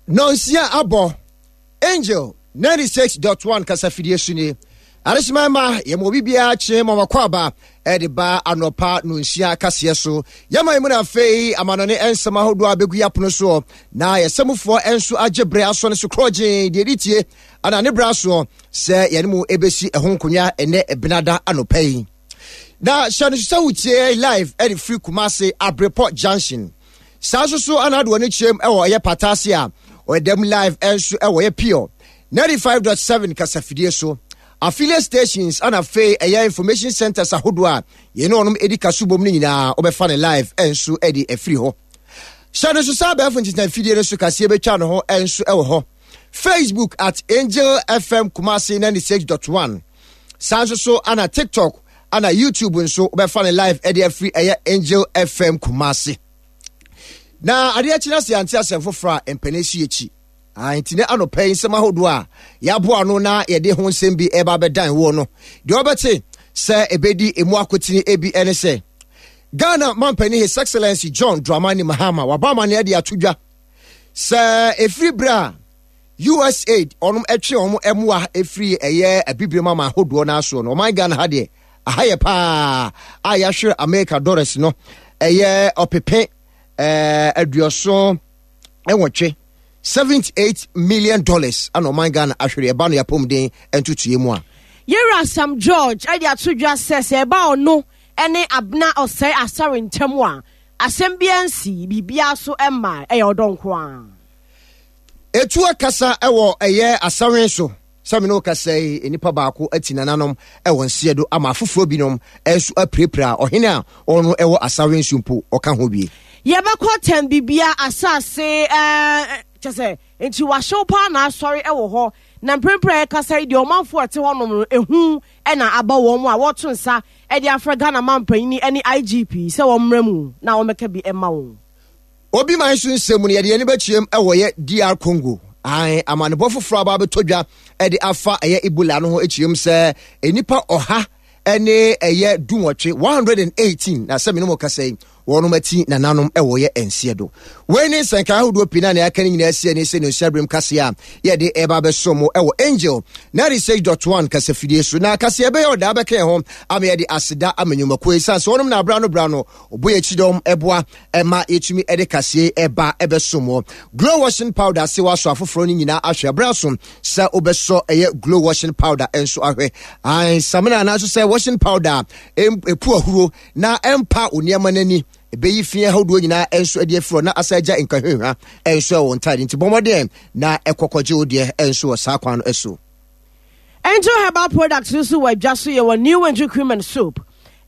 Nonsia abɔ Angel 96.1 kasafidie so nie. Adehyema ma yɛma obi biara kye ma wakɔ aba ɛde ba anɔpa nonsia kaseɛ so. Yɛma mu na afei amanɔne nsɛm ahodoɔ a bɛgu yɛapono soɔ na yɛsɛmufoɔ nso agye berɛ asɔ no so korɔgyee deɛ ɛdi tie ana ne berɛ asoɔ sɛ yɛne mu ɛbɛsi ɛho nkonnwa ɛnɛ ɛbenada anɔpa yi. Na hyɛ no so sɛ wotie live ɛde firi Kumase Abrepɔ Junction. Saa nso so ana ade wɔn kyerɛm ɛwɔ ɛyɛ Patase a ɔyɛ live ɛnso ɛwɔ ɛyɛ Pure 95.7 kasafidie so. Affiliate stations ana afei ɛyɛ information centers ahodoɔ a yɛne wɔn ɛdi kaso bom no nyinaa wɔbɛfa ne live ɛnso ɛde afiri hɔ. Hyɛ no so saa abɛɛfo ntentan fidie no so kaseɛ bɛtwa ne ho ɛnso ɛwɔ hɔ. Facebook at Angel FM Kumasi 96.1. Saa nso so ana TikTok ana YouTube nso wobɛfa no live ɛde afiri ɛyɛ Angel FM Kumasi. Na adeɛ akyi no ase ante asɛm foforɔ a mpanin si akyi. Nti ne anɔpa yi nsɛm ahodoɔ a yɛaboa ano na yɛde ho nsɛm bi ɛba abɛdan woɔ no, deɛ wɔbɛte sɛ ɛbɛdi emu akotene ebi ɛne sɛ Ghana mampanin His Excellency John Dramani Mahama waba amanneɛ de ato dwa sɛ ɛfiri berɛ a USAID ɔnom ɛtwe wɔn mmoa ɛfiri ɛyɛ abibirem ama ahodoɔ no asoɔ no, ɔman Ghana ha deɛ aha yɛ paa a yɛahwere America dollars no ɛyɛ ɔpepe 88, $78 million ana ɔman Ghana ahwere ɛba no yɛapɔmuden ntotoeɛ mu a. Yɛwura Sam George ɛde ato dwa sɛ sɛ ɛba ɔno ɛne Abena Ɔsɛe Asare ntam a, asɛm biara nsi, biribiara so mma, ɛyɛ ɔdɔ nko ara. Etu akasa wɔ ɛyɛ asawen so sɛ me ne wo kasa yi, nnipa baako ati nananom wɔ nseɛ do ama afoforɔ binom nso apirapira ɔhene a ɔno wɔ asawen so mpo ɔka ho bie. Yɛbɛkɔ tɛm bibia asase ɛɛ kyɛ sɛ nti wahyew paa na asɔre wɔ hɔ na mprempren a yɛkasa yi deɛ ɔmanfoɔ a ɛte hɔnom no ehu na aba wɔn a wɔto nsa de afrɛ Ghana manpanyin ne IGP sɛ wɔmmra mu na wɔmmɛka bi mma wɔn. Obi man so nsɛm mu no, yɛde yɛn ani bɛkyerɛm wɔ yɛ DR Congo. Ae, amanebɔ foforɔ aba abɛtɔ dwa de afa ɛyɛ Ebola no ho kyerɛm sɛ nnipa 118, 118, na sɛ mene mo kasa yi, wɔnom ati nananom wɔ yɛ nseɛ do. Wei ne nsɛnka ahodoɔ pii na nea aka no nyinaa si ani sɛ ne nsuaberem kaseɛ a yɛde ɛba abɛso mo wɔ Angel 96.1 kasafidie so. Na kaseɛ ɛbɛyɛ ɔdaa bɛka yɛn ho ama yɛde aseda ama nnwumakuo ɛsiane sɛ wɔnom na abra no bra no ɔbɔ yɛn kyidɔm ɛboa ɛma yɛtumi ɛde kaseɛ ɛba ɛbɛso mo. Glow washing powder se wasɔ afoforɔ no nyinaa ahwɛ abra so sɛ wobɛsɔ ɛyɛ glow washing powder nso ahwɛ. Ae, samina anaasɛ sɛ washing powder ɛpu ahuro na ɛmpa wo nneɛma no ani, ɛbɛyi fi ahodoɔ nyinaa nso de afiri hɔ na asa agya nkahwehwa nso ɛwɔ ntaade. Nti bɔ mmɔden na ɛkɔkɔgye wo deɛ nso wɔ saa kwan no so. Angel Herbal Products nso wɔ adwa so. Yɛwɔ New Angel Cream and Soap,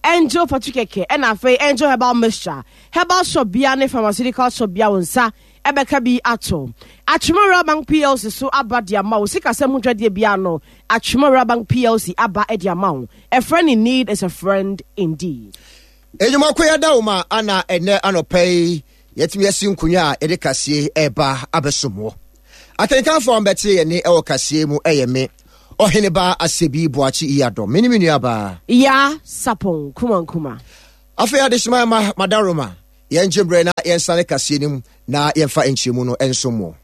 Angel Fatu Kɛkɛ, ɛna afei Angel Herbal Mixture. Herbal shop bia ne pharmaceutical shop bia wo nsa ɛbɛka bi ato. Atwema Rural Bank PLC so aba de ama wo. Sikasɛm ho dwadeɛ bia no, Atwema Rural Bank PLC aba de ama wo. A friend in need is a friend indeed. Enyimako yɛda wo ma ana ɛnɛ anɔpa yi yɛtumi asi nkonnwa a yɛde kaseɛ ɛreba abɛsom wɔ. Akenkanfoɔ a wɔbɛte yɛn ne ɛwɔ kaseɛ mu ɛyɛ me Ɔheneba Asebi Boakye Iyadɔ, me ne me nuabaa Ya Sapon Kumankuma. Afei adehyema ma madaroma yɛngye mmerɛ na yɛnsane kaseɛ no mu na yɛmfa nkyerɛmu no nsom wɔ.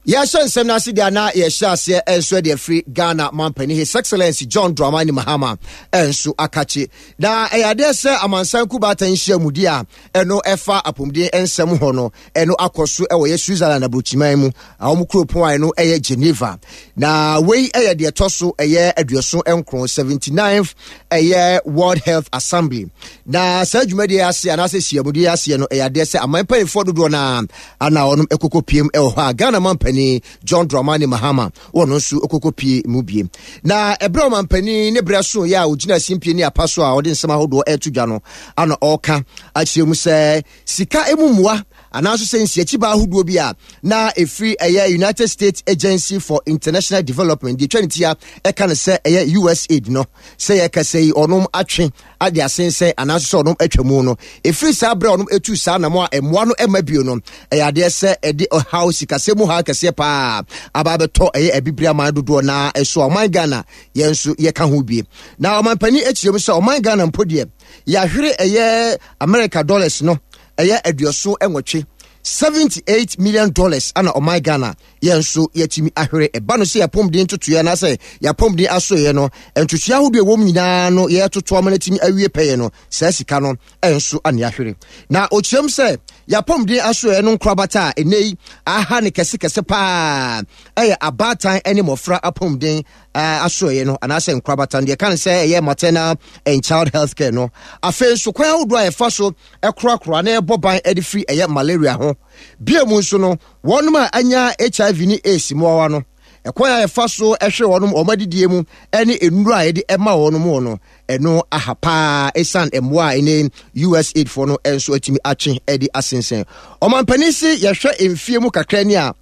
Yɛhyɛ nsɛm no ase deɛ na yɛhyɛ aseɛ nso de afiri Ghana mampanin His Excellency John Dramani Mahama nso akakye. Na ɛyɛ adeɛ sɛ amansan kubaatan nhyiamudi a ɛno ɛfa apɔmuden nsɛm hɔ no ɛno akɔ so ɛwɔ yɛ Switzerland aburokyiman mu a wɔn kuropɔn a ɛno ɛyɛ Geneva. Na wei ɛyɛ deɛ ɛtɔ so ɛyɛ 79, 79th ɛyɛ World Health Assembly. Na saa dwumadie ase anaasɛ hyiamudi aseɛ no ɛyɛ adeɛ sɛ aman mpanimfoɔ dodoɔ no ara ana wɔnom ɛkɔkɔ piem ɛwɔ hɔ a Ghana mampanin John Dramani Mahama wɔn nso ɛkɔkɔ pie mu bie. Na ɛberɛ ɔmampanin ne berɛ so yɛ a ɔgyina simpie ne apa so a ɔde nsɛm ahodoɔ ɛreto dwa no ana ɔreka akyerɛ mu sɛ sika emu mmoa anaasɛ sɛ nsiakyibaa ahodoɔ bi a na ɛfiri ɛyɛ United States Agency for International Development deɛ ɛtwa ne tia ɛka no sɛ ɛyɛ USAID no sɛ yɛkasa yi ɔnom atwe ade asensɛn anaasɛ sɛ ɔnom atwa mu no ɛfiri saa berɛ a ɔnom ɛtu saa nam a mmoa no ɛma bio no ɛyɛ adeɛ sɛ ɛde ɔhaw sikasɛm mu haw kɛseɛ paa aba abɛtɔ ɛyɛ abibire aman dodoɔ na ɛso a ɔman Ghana yɛn nso yɛka ho bie. Na ɔmanpanin akyerɛ mu sɛ ɔman Ghana mpo deɛ yɛahwere ɛyɛ America dollars no ɛyɛ 88. 78 million dollars ana ɔman Ghana yɛn nso yɛatumi ahwere. Ɛba no sɛ yɛapɔmuden ntotoeɛ anaasɛ yɛapɔmuden asoeɛ no, ntotoeɛ ahodoɔ ɛwɔ mu nyinaa no yɛtoto ama no atumi awie pɛyɛ no, saa sika no nso ane ahwere. Na ɔkyerɛm sɛ yɛapɔmuden asoeɛ no nkorabata a ɛnɛ yi aha ne kɛsekɛse paa ɛyɛ abaatan ne mmɔfra apɔmuden asoɛeɛ no anaasɛ nkorabata no deɛ ɛka no sɛ ɛyɛ maternal and child health care no. Afei nso kwan ahodoɔ a yɛfa so korakora na ɛbɔ ban de firi ɛyɛ malaria ho. Bia mu nso no, wɔnom a anya HIV ne AIDS mmoawa no, ɛkwan a yɛfa so hwɛ wɔnom wɔn adidie mu ne nnuro a yɛde ɛma wɔnom wɔ no, ɛno aha paa ɛsiane mmoa a ɛne USAID foɔ no nso atumi atwe de asensɛn. Ɔmampanin se yɛhwɛ mfie mu kakra ni a,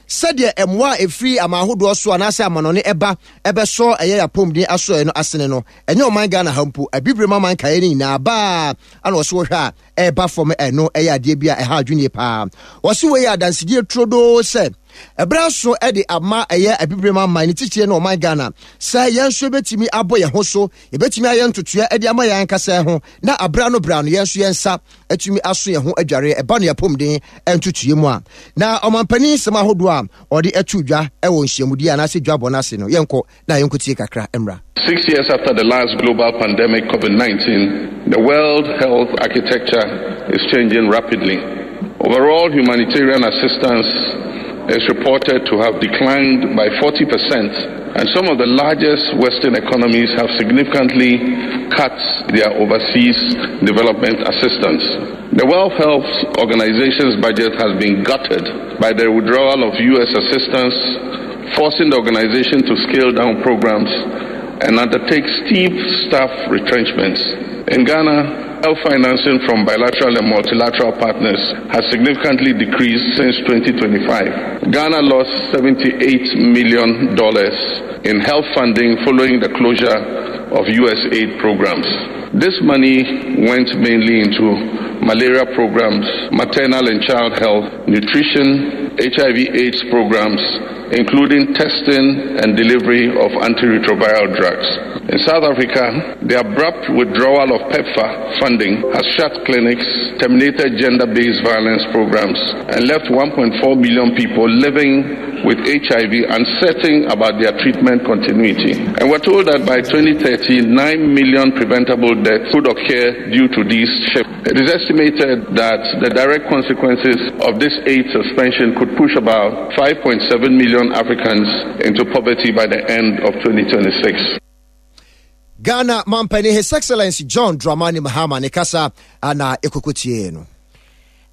Sɛdeɛ mmoa a ɛfiri aman ahodoɔ so anaasɛ amanɔne ɛba ɛbɛsɔ ɛyɛ yɛapɔmuden asoɛeɛ no asene no, ɛnyɛ ɔman Ghana ha mpo, Abibirem aman nkaeɛ no nyinaa baa ana wɔse wohwɛ a ɛreba fam, ɛno ɛyɛ adeɛ bi a ɛha adwene yie paa. Wɔse wei yɛ adansedie turodoo sɛ ɛberɛ aso de ama ɛyɛ Abibirem aman ne titire ne ɔman Ghana sɛ yɛn nso yɛbɛtumi abɔ yɛn ho so, yɛbɛtumi ayɛ ntotoeɛ de ama yɛn ankasa ho na aberɛ ano berɛ ano yɛn nso yɛn nsa atumi aso yɛn ho adwareɛ ɛba no yɛapɔmuden ntotoeɛ mu a. Na ɔmampanin nsɛm ahodoɔ a ɔde ato dwa wɔ nhyiamudie anaasɛ dwabɔ no ase no, yɛnkɔ na yɛnkɔtie kakra mmra. Six years after the last global pandemic, COVID-19, the world health architecture is changing rapidly. Overall humanitarian assistance is reported to have declined by 40%, and some of the largest Western economies have significantly cut their overseas development assistance. The World Health Organization's budget has been gutted by the withdrawal of U.S. assistance, forcing the organization to scale down programs and undertake steep staff retrenchments. In Ghana, health financing from bilateral and multilateral partners has significantly decreased since 2025. Ghana lost $78 million in health funding following the closure of U.S. aid programs. This money went mainly into malaria programs, maternal and child health, nutrition, HIV AIDS programs, including testing and delivery of antiretroviral drugs. In South Africa, the abrupt withdrawal of PEPFAR funding has shut clinics, terminated gender based violence programs, and left 1.4 million people living with HIV uncertain about their treatment continuity. And we're told that by 2030, 9 million preventable deaths could occur due to these shifts. It is estimated that the direct consequences of this aid suspension could push about 5.7 million Africans into poverty by the end of 2026. Ghana mampanin His Excellency John Dramani Mahama ne kasa ana ekokotie no.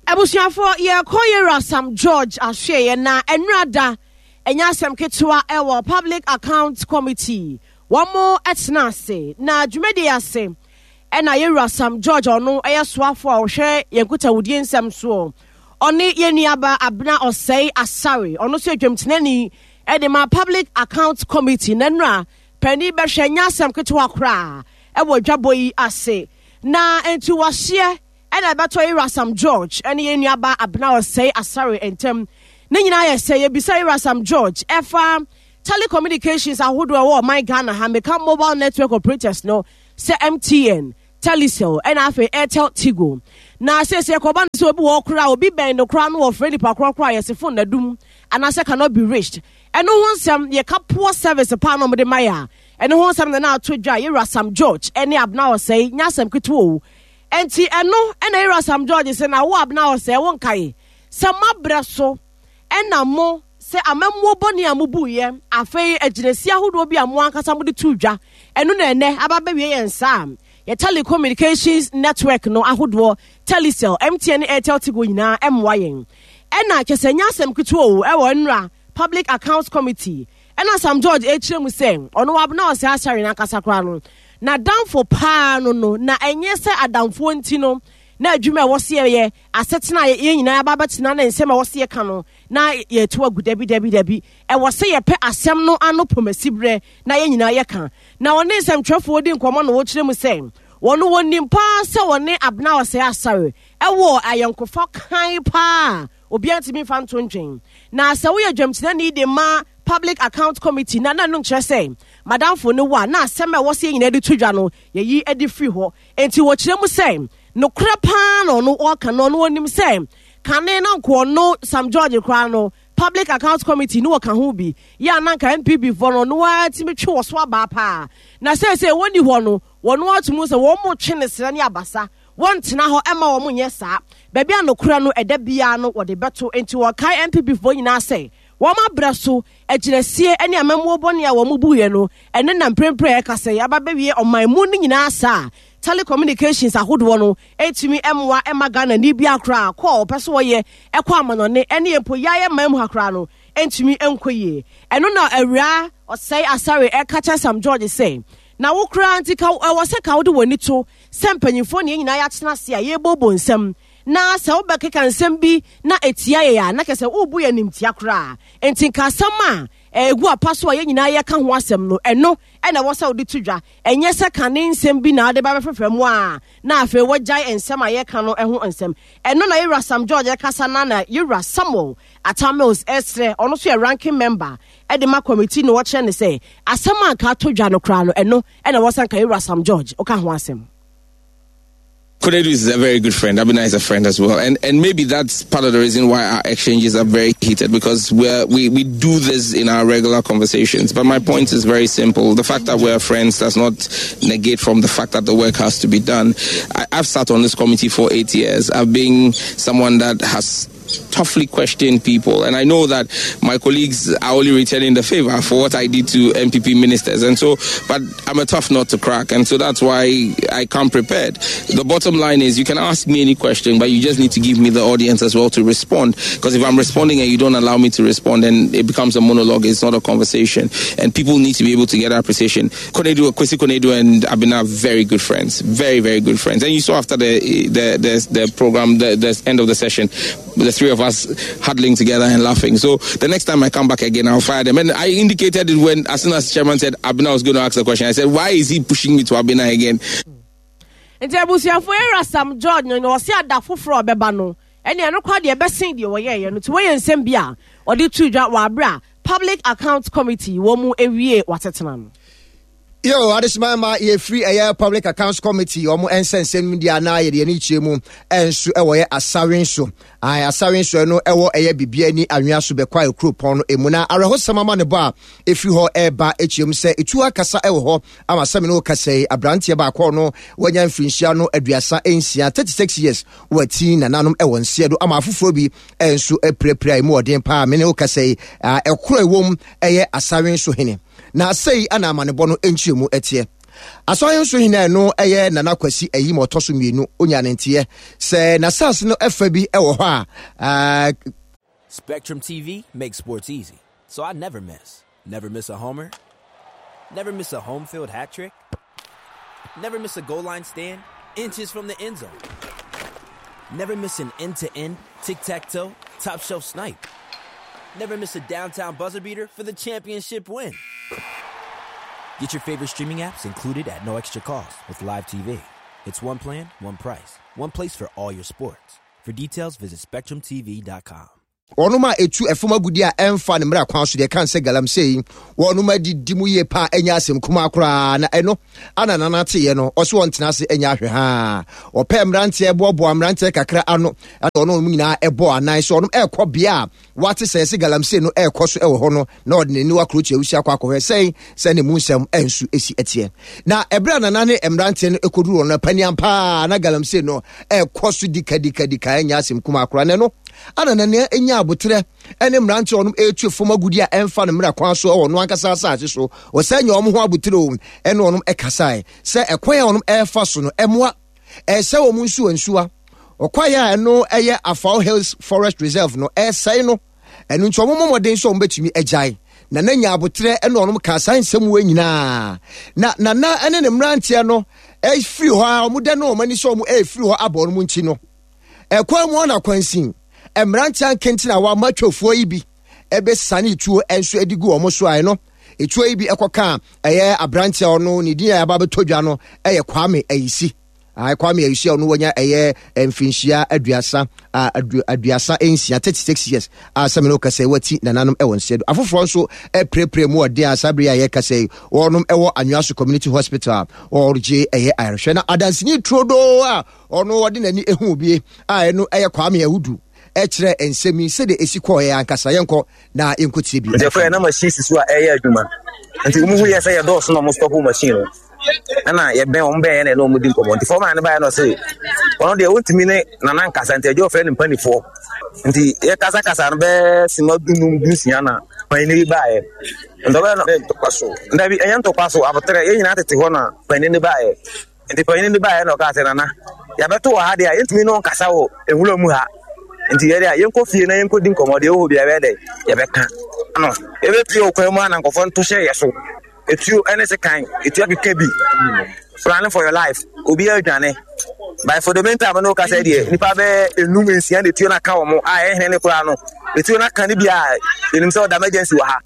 Abusuafoɔ yɛkɔ yɛwura Sam George ahwɛeɛ na ɛnura da ɛnyɛ asɛm ketewa ɛwɔ Public Account Committee wɔn ɛtena ase na dwumadie ase Ɛna yɛn wura Sam George a ɔno yɛ soafoɔ a ɔhwɛ yɛn nkutahudie nsɛm soɔ, ɔne yɛn nuaba Abena Ɔsɛe Asare, ɔno nso yɛ dwamtenani de ma Public Accounts Committee. Na nnura panin bɛhwɛ nyɛ asɛm ketewa koraa ɛwɔ dwabɔ yi ase. Na nti wahyeɛ ɛna ɛbɛtɔ yɛn wura Sam George ɛne yɛn nuaba Abena Ɔsɛe Asare ntam. Ne nyinaa yɛ sɛ yɛbisa yɛn wura Sam George ɛfa telecommunications ahodoɔ ɛwɔ ɔman Ghana ha, meka mobile network operators no, sɛ MTN, Telecel, ɛna afei Airtel Tigo. Na seesei ɛkɔba no sɛ obi wɔ hɔ koraa obi bɛn no koraa no wɔfrɛ nipa korɔ koraa yɛse phone na dum anaasɛ cannot be reached. Ɛno ho nsɛm yɛka poor service paa na wɔde ma yɛ a ɛno ho nsɛm na na ato dwa yɛwura Sam George ɛne Abena Osei nyɛ asɛm ketewa o. Ɛnti ɛno ɛna yɛwura Sam George sɛ na wo Abena Osei wo nkae sɛ mabrɛ so Ɛna mo, sɛ amammuo bɔne a mobuiɛ, afei agyinasie ahodoɔ bi a mo ankasa mode too dwa, ɛno na ɛnnɛ aba abɛwie yɛn nsa a yɛ telecommunications network no ahodoɔ, Telecel, MTN ne Airtel Tigo nyinaa mmoa yɛn. Ɛna kyɛ sɛ ɛnyɛ asɛm ketewa o, ɛwɔ nnora Public Accounts Committee, ɛna Sam George ɛrekyerɛ mu sɛ ɔno Abena Osei Asare no ankasa koraa no, n'adamfo paa no no, na ɛnyɛ sɛ adamfoɔ nti no na adwuma a ɛwɔ sɛ yɛyɛ Asetena a yɛn nyinaa aba abɛtena ne nsɛm a ɛwɔ sɛ yɛka no, na yɛatu agu. Dabi, dabi, dabi. Ɛwɔ sɛ yɛpɛ asɛm no ano pomasiberɛ na yɛn nyinaa yɛka. Na ɔne nsɛmtwerɛfoɔ di nkɔmmɔ na ɔkyerɛ mu sɛ, wɔn wɔnim paa sɛ wɔne Abena Osei Asare wɔ ayɔnkofa kann paa a obiara ntumi mfa nto ntwɛn. Na sɛ woyɛ dwamtenani de ma Public Account Committee na na ɛno nkyerɛ sɛ madamfo ne wo a, na asɛm a ɛwɔ sɛ yɛn nyinaa de to dwa no, yɛyi de firi hɔ. Enti wɔkyerɛ mu sɛ, Nokorɛ paa na ɔno ɔɔka no, ɔno ɔnim sɛ Kane na nka ɔno Sam George koraa no Public Accounts Committee no wɔka ho bi yɛ a na nka NPP foɔ no ɔno ara tumi twe wɔ so abaa paa. Na seesei wɔnni hɔ no wɔn ato mu sɛ wɔn mo twe ne serɛ ne abasa. Wɔntena hɔ mma wɔn nyɛ saa. Baabi a nokorɛ no ɛda biara no wɔde bɛto. Enti wɔkae NPP foɔ nyinaa sɛ wɔn abrɛ so agyinasie ne amammuo bɔne a wɔn buiɛ no ɛno na mprempren a yɛkasa yi aba bɛwie ɔman mu no nyinaa saa a telecommunications ahodoɔ no ntumi mmoa mma Ghanani biara koraa kɔ a ɔpɛ sɛ ɔyɛ kɔ amanɔne ɛne mpo yɛayɛ man mu ha koraa no ntumi nkɔ yie. Ɛno na Awuraa Osei Asare ɛka kyerɛ Sam George sɛ na wo koraa nti ka ɛwɔ sɛ ka wode w'ani to sɛ mpanyinfoɔ ne yɛn nyinaa yɛatena ase a yɛrebobɔ nsɛm na sɛ wobɛkeka nsɛm bi na ɛtia yɛn a na kyerɛ sɛ worebu yɛn animtia koraa. Enti nka asɛm a ɛgu apa so a yɛn nyinaa yɛka ho asɛm no, ɛno na ɛwɔ sɛ wode to dwa, ɛnyɛ sɛ kane nsɛm bi na wode ba bɛfrɛfrɛ mu a na afei woagyae nsɛm a yɛka no ho nsɛm. Ɛno na Yɛwura Sam George rekasa na na Yɛwura Samuel Atta Mills resrɛ, ɔno nso yɛ ranking member de ma committee no, wɔkyerɛ no sɛ asɛm a nka ato dwa no koraa no, ɛno na ɛwɔ sɛ nka Yɛwura Sam George woka ho asɛm. Konadu is a very good friend. Abena is a friend as well. And and maybe that's part of the reason why our exchanges are very heated because we're, we we do this in our regular conversations. But my point is very simple. The fact that we're friends does not negate from the fact that the work has to be done. I, I've sat on this committee for eight years. I've been someone that has toughly questioned people. And I know that my colleagues are only returning the favor for what I did to NPP ministers. And so, but I'm a tough nut to crack. And so that's why I come prepared. The bottom line is you can ask me any question, but you just need to give me the audience as well to respond. Because if I'm responding and you don't allow me to respond, then it becomes a monologue. It's not a conversation. And people need to be able to get appreciation. Konadu, Kwesi Konadu and Abena are very good friends. Very, very good friends. And you saw after the, the, the, the program, the, the end of the session, the three of us huddling together and laughing. So the next time I come back again, I'll fire them. And I indicated it when, as soon as chairman said Abena was going to ask the question, I said, why is he pushing me to Abena again? Nti abusuafo era Sam George no na ɔse ada foforɔ a ɔbɛba no ɛne ɛno koraa deɛ ɛbɛsen deɛ wɔyɛeɛ no nti wɔyɛ nsɛm bi a ɔde to dwa wɔ abere a Public Accounts Committee wɔn mu ewie wɔasetena no. Yo, adesima ma yɛfiri ɛyɛ Public Accounts Committee wɔn nsɛnsɛm mu deɛ anaa yɛde yɛn kyerɛ mu nso ɛwɔ yɛ asawe nso. Ae, asawe nso ɛno ɛwɔ ɛyɛ bibia ni anwea so bɛkɔ a kuropɔn no emu na awerɛhosɛm ama ne bɔ a ɛfiri hɔ ɛreba kyerɛ mu sɛ etuo akasa ɛwɔ hɔ ama sɛ me ne wo kasa yi aberanteɛ baako no wanya mfirinhyia no 36, 36 years wɔati nananom ɛwɔ nseɛ do ama afoforɔ bi nso apirapira emu ɔden paa me ne wo kasa yi ɛkoro ɛwɔ mu ɛyɛ asawe so hene na sei ana amanebɔ no nkyerɛmu ɛteɛ Asɔre nso hene a ɛno ɛyɛ Nana Kwasi Ayim ɔtɔ so mmienu onya ne nteɛ sɛ n'asase no ɛfa bi ɛwɔ hɔ a Spectrum TV makes sports easy, so I never miss. Never miss a homer. Never miss a home field hat trick. Never miss a goal line stand inches from the end zone. Never miss an end to end, tic tac toe, top shelf snipe. Never miss a downtown buzzer beater for the championship win. Get your favorite streaming apps included at no extra cost with Live TV. It's one plan, one price, one place for all your sports. For details, visit SpectrumTV.com. Wɔnom a ɛtu ɛfam agudeɛ a ɛmfa ne mmara kwan so deɛ ɛka sɛ galamsey yi, wɔnom adidi mu yie paa ɛnyɛ asɛm kumaa koraa na ɛno ana nana teeɛ no ɔso ɔntena ase ɛnyɛ ahwɛ haa ɔpɛ mmeranteɛ boaboa mmeranteɛ kakra ano ɛna ɔno wɔn nyinaa ɛbɔ anan so ɔnom ɛrekɔ bea a wate sɛ ɛsɛ galamsey no ɛrekɔ so ɛwɔ hɔ no na ɔde n'ani wakoro kyerɛ wusi akɔ akɔhwɛ sɛn sɛ ne mu nsɛm ɛnso esi ɛteɛ na ɛberɛ a nana ne mmeranteɛ no ɛkɔduru wɔn no paniam paa na galamsey no ɛrekɔ so dikadikadika ɛnyɛ asɛm kumaa koraa na ɛno ana nana nya aboterɛ ɛne mmeranteɛ ɔnom ɛretu fam agudi a ɛmfa no mmerɛ kwan so ɛwɔ ɔno ankasa asase so ɔsɛ nya wɔn ho aboterɛ o ɛne ɔnom ɛkasae sɛ ɛkwan a ɔnom ɛrefa so no ɛmoa ɛsɛ wɔn nsuwa nsuwa ɔkwaeɛ a ɛno ɛyɛ Afao Hills Forest Reserve no ɛresɛe no ɛno nti wɔn mmɔden sɛ wɔn bɛtumi agyae nana nya aboterɛ ɛne ɔnom kaa saa nsɛm wɔ nyinaa na nana ɛne ne mmeranteɛ no ɛfiri hɔ a wɔn dɛ no wɔn ani sɛ wɔn ɛrefiri hɔ abɔ wɔn nkyi no ɛkwan mu ɔna kwansin mmeranteɛ nkenten a wɔama atwafoɔ yi bi ɛbɛsane tuo nso de gu wɔn so a ɛno etuo yi bi ɛkɔka ɛyɛ aberanteɛ ɔno ne din a yɛaba bɛtɔ dwa no ɛyɛ Kwame Ayisi Kwame Ayisi a ɔno wanya ɛyɛ mfinhyia aduasa 36 36 years a sɛ mene wokasa yi wati nananom ɛwɔ nsɛ do afoforɔ nso ɛpirepire mu ɔden a saa bere a yɛkasa yi wɔnom ɛwɔ Anwea so Community Hospital a wɔregye ɛyɛ ayarehwɛ na adanseni turodoo a ɔno ɔde n'ani ehu bi a ɛno ɛyɛ Kwame Awudu. kyerɛɛ nsɛm yi sɛdeɛ ɛsi kɔeɛ ankasa. Yɛnkɔ na yɛnkɔtie bi. Nti ɛkɔyɛ na machine si so a ɛyɛ adwuma. Nti wɔn hu yɛ sɛ yɛdɔɔso na wɔn stop machine no. Ɛna yɛbɛn wɔn bɛn yɛn na ɛna wɔn di nkɔmɔ. Nti fɔma no baeɛ na ɔse ɔno deɛ wɔntumi ne nana nkasa nti ɛgye ɔfrɛ ne mpanifoɔ. Nti yɛkasakasa no bɛɛ sima dunum dunsia na panyin bi baeɛ. Nti ɔbɛyɛ no ntɔkwa so. Dabi ɛnyɛ ntɔkwa so aboterɛ yɛn nyinaa tete hɔ na panyin no baeɛ. Nti panyin no baeɛ na ɔkaa sɛ, Nana, yɛabɛto wɔ ha deɛ a, yɛntumi ne wo nkasa wɔ nwura mu ha. Nti yɛ deɛ a, yɛnkɔ fie na yɛnkɔdi nkɔmmɔ, deɛ ɛwɔ hɔ biara yɛbɛyɛ dɛ, yɛbɛka. No, yɛbɛpue wɔ kwan mu a na nkurɔfoɔ nto hyɛ yɛ so. Etuo ne sekan, etuo akeka bi. Planning for your life, obiara adwane. But for the meantime, no kasa deɛ, nipa bɛyɛ enum nsia na etuo no aka wɔn a ɛyɛ hene ne koraa no, etuo no aka no bi a, yɛnim sɛ ɔda emergency wɔ ha.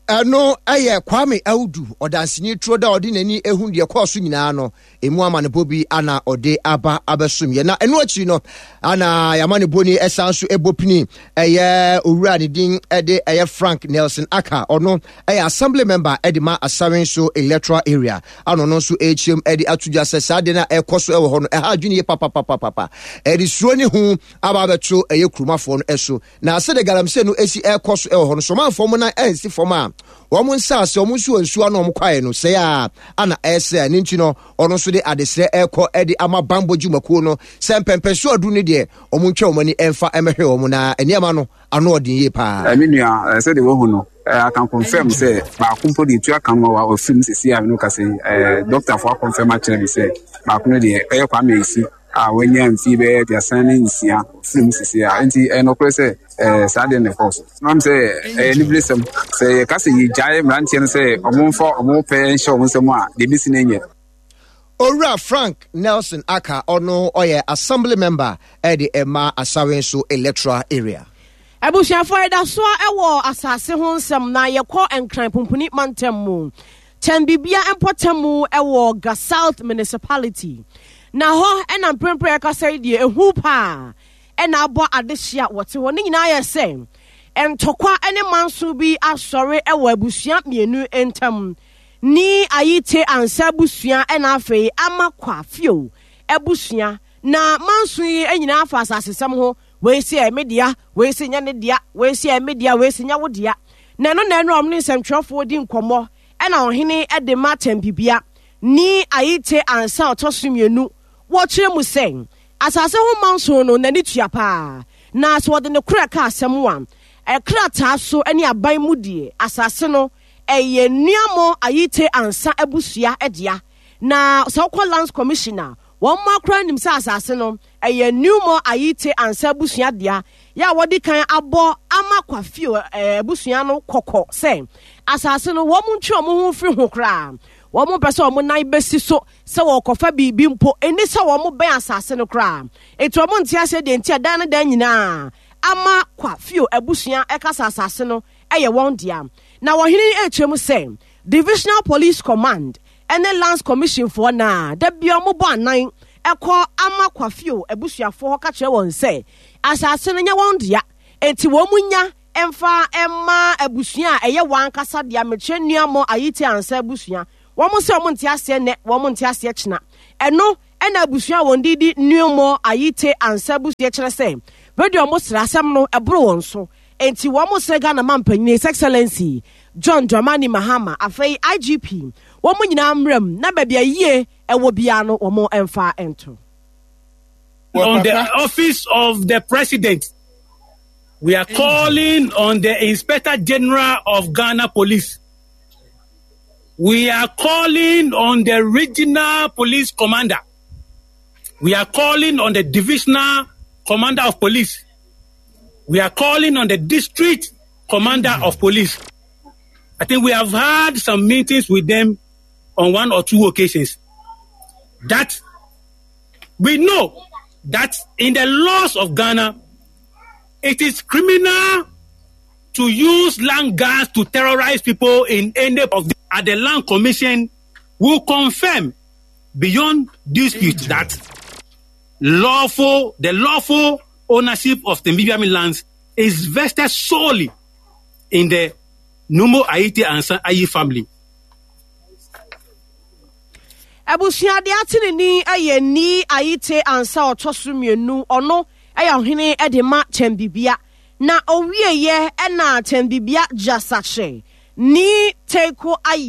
Ɛno yɛ Kwame Audu, ɔdanseni turo da a ɔde n'ani ehu deɛ ɛkɔɔ so nyinaa no, emu amanebɔ bi ana ɔde aba abɛsom yɛ. Na ɛno akyiri no, ana yɛamanebɔ ni ɛsan so ɛbɔ pini ɛyɛ owura ne din ɛde ɛyɛ Frank Nelson Aka, ɔno ɛyɛ assembly member ɛde ma Asawenso electoral area, ana ɔno nso ɛrekyerɛm ɛde ato dwa sɛ saa deɛ no a ɛkɔ so ɛwɔ hɔ no ɛha adwene yie papapapapa, ɛde suro ne hu aba abɛto ɛyɛ kurumafoɔ no ɛso. Na sɛdeɛ galamsey no si rekɔ so wɔ hɔ no, Somalfoɔ wɔn nan ansi fam a wɔn nsaase, wɔn nsuo nsuo ano wɔn kwaeɛ no sɛe a ana ɛresɛe. Ɛno nti no, ɔno nso de adesrɛ rekɔ de ama bammɔ dwumakuo no sɛ mpɛmpɛnsoɔ aduru no deɛ, wɔn ntwa wɔn ani mfa mmɛhwɛ wɔn na nneɛma no ano ɔden yie paa. Me nua, sɛdeɛ woahu no, I can confirm sɛ baako mpo deɛ etu aka no ma wafiri mu seesei a me ne wo kasa yi. Dɔktafoɔ akɔnfɛm akyerɛ me sɛ baako no deɛ ɛyɛ Kwame Ayisi. a wanya mfe bɛyɛ 36 firi mu sisi a nti ɛyɛ nokorɛ sɛ ɛɛ saa deɛ na ɛkɔɔ so. Nam sɛ ɛyɛ aniberesɛm sɛ yɛka sɛ yɛgyae mmeranteɛ no sɛ ɔmo mfa ɔmo pɛ nhyɛ ɔmo nsam a deɛ ebesi no nyɛ. Owura Frank Nelson Aka ɔno ɔyɛ Assembly Member ɛde ɛma Asawenso Electoral Area. Abusuafoɔ yɛda soa wɔ asase ho nsɛm na yɛkɔ Nkran Pumpuni mantam mu. Kyɛnbibia mpɔtam wɔ Ga South Municipality. Na hɔ na mprempren yɛkasa yi deɛ ehu paa na abɔ adehye a wɔte hɔ. Ne nyinaa yɛ sɛ ntɔkwa ne manso bi asɔre wɔ abusua mmienu ntam. Ni Ayite Ansa abusua na afei Ama Kwa Fio abusua. Na manso yi nyinaa fa asasesɛm ho. Wei se ɛyɛ me dea, wei se nyɛ ne dea, wei se ɛyɛ me dea, wei se nyɛ wo dea. Na ɛno na ɛno a wɔne nsɛmtwerɛfoɔ di nkɔmmɔ ɛna ɔhene de ma Tɛmpibea ni Ayite Ansa ɔtɔ so mmienu. Wɔkyerɛ mu sɛ asase ho manso no n'ani tua paa, na sɛ wɔde ne korɛ ka asɛm a, krataa so ne aban mu deɛ asase no ɛyɛ Nuamɔ Ayite Ansa abusua dea. Na sɛ wokɔ Lands Commission a, wɔn mma koraa nim sɛ asase no Ɛyɛ Newmore Ayite Ansah abusua dea, yɛ a wɔadi kan abɔ ama Kwafio abusua no kɔkɔ sɛ asase no wɔn ntwe wɔn ho mfiri ho koraa. Wɔn mpɛ sɛ wɔn nan bɛsi so sɛ wɔrekɔfa biribi mpo, ɛnni sɛ wɔn bɛn asase no koraa. Enti wɔn nte aseɛ deɛ nti a dan ne dan nyinaa ama Kwafio abusua ɛka sɛ asase no yɛ wɔn dea. Na ɔhene no rekyerɛ mu sɛ Divisional Police Command ne Lands Commission foɔ no a da biara wɔbɔ anan kɔ ama Kwafio abusuafoɔ hɔ ka kyerɛ wɔn sɛ asase no nyɛ wɔn dea, enti wɔn nya mfa mma abusua a ɛyɛ wɔn ankasa dea, mekyerɛ Nuamɔ Ayite Ansah abusua. Wɔn sɛ wɔn nte aseɛ nnɛ, wɔn nte aseɛ kyena. Ɛno na abusua a wɔn din di Nuamɔ Ayite Ansah abusua kyerɛ sɛ radio wɔn srɛ asɛm no ɛboro wɔn so. Enti wɔn srɛ Ghana manpanyin His Excellency John Dramani Mahama, afei IGP, wɔn nyinaa mmra mu na baabi a yie ɛwɔ biara no wɔn mfa nto. On the office of the president, we are calling on the Inspector General of Ghana Police. We are calling on the regional police commander. We are calling on the divisional commander of police. We are calling on the district commander of police. I think we have had some meetings with them on one or two occasions. That we know that in the laws of Ghana, it is criminal to use land guards to terrorize people in any of the, at the land commission will confirm beyond dispute that lawful the lawful ownership of the Mbibiami lands is vested solely in the Numo Aite Ansa Ayi family. Abusua deɛ ate ne din yɛ Nii Ayite Ansah ɔtɔ so mmienu. Ɔno ɛyɛ ɔhene de ma Kyɛmbibia. Na owieɛ ɛna Kyɛmbibia Gyasakye Nii Teiko Ayi.